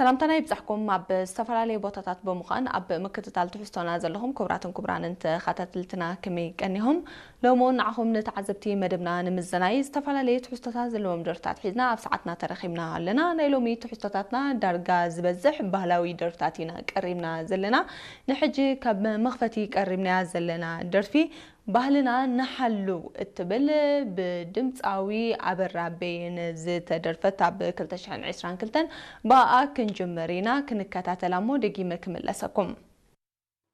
ሰላምታና ይብጻሕኩም። ኣብ ዝተፈላለየ ቦታታት ብምዃን ኣብ ምክትታል ትሕዝቶና ዘለኹም ክቡራትን ክቡራንን ተኸታተልትና ከመይ ቀኒኹም? ሎሚ እውን ንዓኹም ንተዓዘብቲ መደብና ንምዝናይ ዝተፈላለየ ትሕዝቶታት ዘለዎም ደርፍታት ሒዝና ኣብ ሰዓትና ተረኺብና ኣለና። ናይ ሎሚ ትሕዝቶታትና ዳርጋ ዝበዝሕ ባህላዊ ደርፍታት ኢና ቀሪብና ዘለና። ንሕጂ ካብ መኽፈቲ ቀሪብናያ ዘለና ደርፊ ባህልና ንሓሉ እትብል ብድምፃዊ ኣበራ በየነ ዝተደርፈት ኣብ ክልተ ሽሕን ዕስራን ክልተን ብኣኣ ክንጅምር ኢና። ክንከታተላ እሞ ደጊመ ክምለሰኩም።